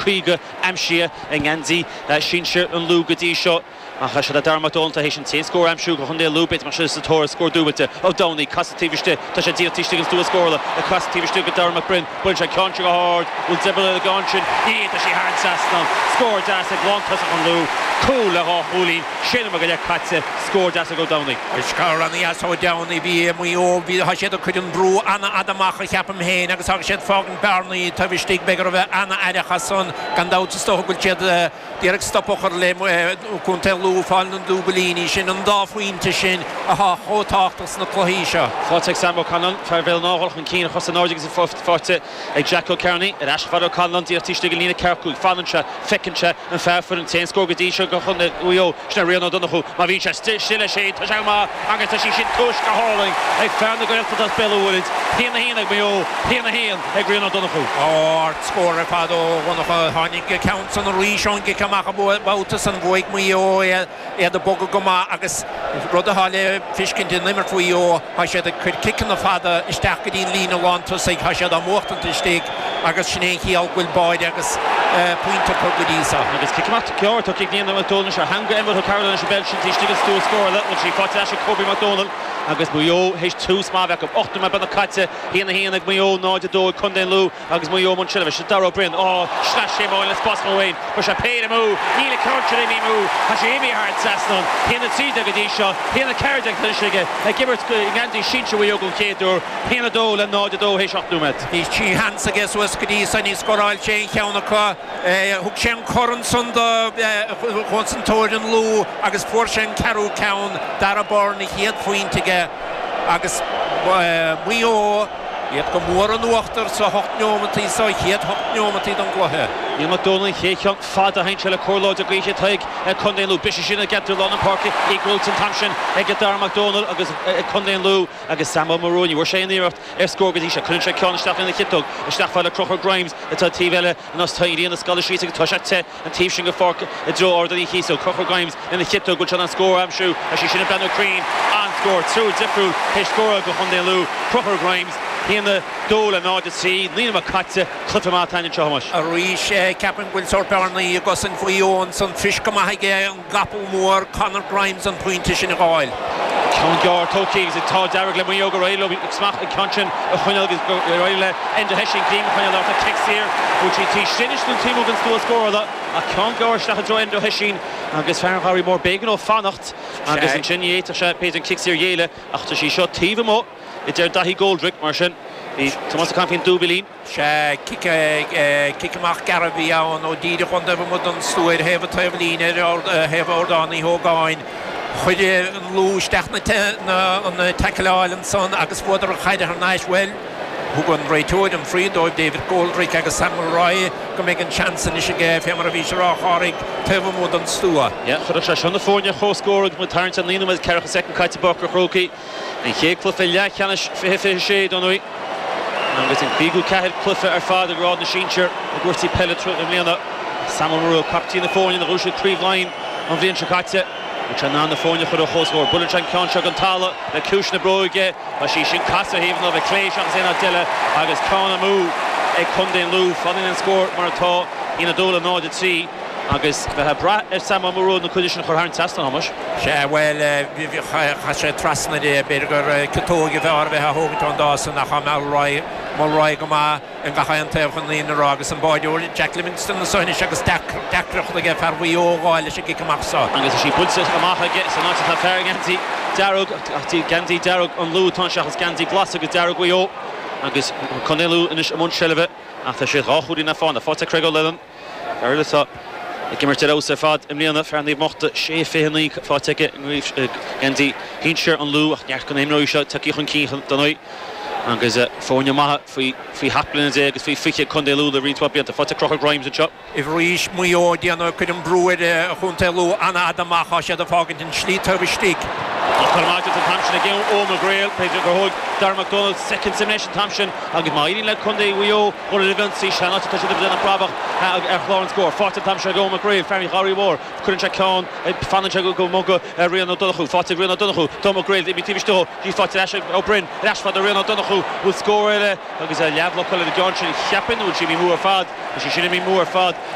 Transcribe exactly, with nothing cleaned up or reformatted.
caoga aimsithe i ngeansaí sinsir an Lú go dtí seo. Ach sé Darragh McDonald théis an t-aon scór a aimsiú do Chontae Lú bit mar sin sa tóir scór dúbailte Ó Domhnaill casadh taobh istigh tá sé díreach taobh istigh an stua scórála le casadh taobh istigh go Darragh McBrinn buaileann sé ceann go hard bhfuil deibel gan sin ní tá sí thar an trasnán scór deas ag lántosach an Lú cúl le dhá chúilín sé go leith caite scór deas ag Ó Domhnaill. Scór an-deas Ó Domhnaill bhí Maigh Eo bhí tá siad ag cur an brú an-fhada amach a cheapaim féin agus agus siad fágann bearnaí taobh istigh b'fhéidir a bheith an-aireach as san gan dabht is dócha go bhfuil siad d'iarraidh stop a chur le Contae Lú fáil na dúbailíní sin an dá phointe sin atá chomh tábhachtach sna cluichí seo. Faighte ag Sam O'Connell fear Bhéal an Átha chun cinn chos in airde agus faighte ag Jack O'Kearney ar ais fad O'Connell díreach taobh istigh líne ceathrú fanann sé feiceann sé an fear fuair an t-aon scór go dtí seo go chun Mhaigh Eo sin Rian Ó Donnchú má bhíonn sé stille sé tá sé maith agus tá sí sin tuis go hálainn ag fear na Gaeltachta as Béal an Mhuirthead haon a haon ag Maigh Eo haon a haon ag Rian Ó Donnchú. Ard-scór ar fad ó Dhonncha tháinig ceann san arís ón gcic amach babhta san bhuaigh Maigh Eo iad ag bogadh go maith agus rud atá le feiscint in imirt Mhaigh Eo tá siad ag cur ciceanna fada isteach go dtí an líne lántosaigh tá siad á mbuachtaint istigh agus sin é chiall bhfuil báide agus pointe go dtí seo. Agus cic amach ceart tá cic níon McDonald ar theanga Emma O'Carroll an bheil sin istigh an stua scórála bhfuil sí faighte ag Kobe McDonald agus Maigh Eo théis tús maith acu ocht nóiméad beagnach caite haon a haon ag Maigh Eo náid a dó Contae Lú agus Maigh Eo mun sile se Darragh O'Brien á sle sé le spás amháin chu sé péire amú níl ceann sin amú Tá sé imithe thar an trasnán haon a trí go dtí seo haon a ceathair aige ag imirt ngeansaí sinsir Mhaigh Eo don chéad uair haon a dó le náid a dó théis ocht nóiméad. Bhí trí sheans aige suas go dtí san ní scóráil sé an ceann acu thug sé an corn san do chosantóir an Lú agus fuair sé an ceathrú ceann Darragh Byrne a chéad phointe aige agus Maigh Eo iad go mór in uachtar sa hocht neomataí sa chéad hocht neomataí don gcluiche. Níl McDonald ché ceann fada hain se le cóláide gaoise tuig Contae Lú Bis sin a getar lá an páirce í ggóil an tam sin ag Darragh McDonald agus Contae Lú agus Samuel Maroney bhur sé iarracht ar scór go dtí sé chuir sé ceann isteach ina chiotóg isteach le Crochúr Grimes atá taobh eile an taobhlíne na scoile sí agus tá sé te an taobh sin go pháirc i dtreo Ard an Chíosóg Crochúr Grimes ina chiotóg go an scór aimsiú a sí sin breathnú cruinn an scór trú difriúil théis scór go Chontae Lú Crochúr Grimes haon a dó le náid a trí naoi nóiméad caite cluiche maith tain seo Thomáis. Arís ceapaim go bhfuil sórt bearnaí agus an faoin san fis go maith aige an gapall mór Conor Grimes an pointe sin a fháil. Ceann gearr tógtha agus tá dearg le Maigh Eo go réidh smach ag ceann sin a choinneáil agus go réidh le Enda Hession Clean choinneáil a cic saor bhfuil sí tí sinnis an tíú an stua scórála a ceann gearr isteach i dtreo Enda Hession agus fear Gharraí Mór b'éigean dó fanacht agus ansin dhéata sé péid an cic saor dhéile ach tá sí seo taobh amuigh i deir Daithí Goldrick mar sin bhí Tomás Caifín dúbilín. Se cic amach gearr a bhí ann ó díreach chun taobh an stua thaobh taobhlíne thaobh Ardán Uí Hógáin. Chuir an Lú isteach na an tackleáil ansan agus fuaireadar an chaid thar n-ais bhuel. Thug an réiteoir an free dóibh David Goldrick agus Sam Mulroy go mbeidh an seans anois aige fé mar a bhí sé rácharig taobh amuigh den stua. Chuir sé seo na foirne chomhscór agus mu tarint an lína ceathracha soicind caite Bocra Chrócaí. An chéad cluiche leathcheannais fiche fiche sé don uí. Agus an cúigiú ceathair cluiche ar fad ag grád na sinsear i gcúrsaí peile i mbliana. Samuel Marú captaen na foirne a bhuaigh Craobh Laighean an bhliain seo caite. sé ná na foirne chur a chomhscór. Buaileann sé an ceann seo an talamh le cúis na bróige Tá sí sin casa thaobh nó bheith cléis agus é deile agus ceann amú ag Contae Lú fanann an scór mar atá ina dó le náid a trí agus bheith brath ar Samuel Marú na chuide sin chur thar an trasnán Thomáis. Sé bhuel cha sé trasna de b'fhéidir gur ciotóg a bheith bheith a thógaint an dá san nach Mulroy Mulroy go maith an gach aon taobh chun líon rá agus an báideoir Jack Livingston na sonis agus deacracht aige fear Mhaigh Eo a fháil leis an gcic amach seo. Agus sí buailte amach aige san áit atá fear geansaí dearg geansaí dearg an Lú tá seachas geansaí glas agus dearg Mhaigh Eo agus Contae Lú anois i mbun seilbhe ach tá sé dhá chúilín na fána faighte Craig O'Lennon Ar ag imirt ar fheabhas ar fad i mbliana fear Naomh Mochta sé fiche naoi faighte aige geansaí shinsir an Lú ach neart go n-imreoidh seo tagtha chun cinn don agus foirne maith faoi faoi sheacht mbliana déag agus faoi fiche Contae Lú le roinnt blianta faighte Crochúr Grimes anseo. Arís Maigh Eo déanamh chun an brú ar Chontae Lú an-fhada amach siad a fágaint an slí taobh istigh. Tá an tam sin ag ó McGrail B'fhéidir gur thóg Darragh McDonald soicind simnéis an tam sin agus má éiríonn le Contae Mhaigh Eo go bhfuil sí se tá siad an brabach ar chlár an scór. Faighte tam se go McGrail fear Gharraí Mhór chuireann sé ceann fanann sé go muga Rian Ó Donnchú faighte Rian Ó Donnchú Tom McGrail i tíiste í faighte leis ó Brin leis fad Rian Ó Donnchú bhfuil scór eile agus leamh le an gceann sin cheapaim bhfuil sí amú ar fad sí sin amú ar fad.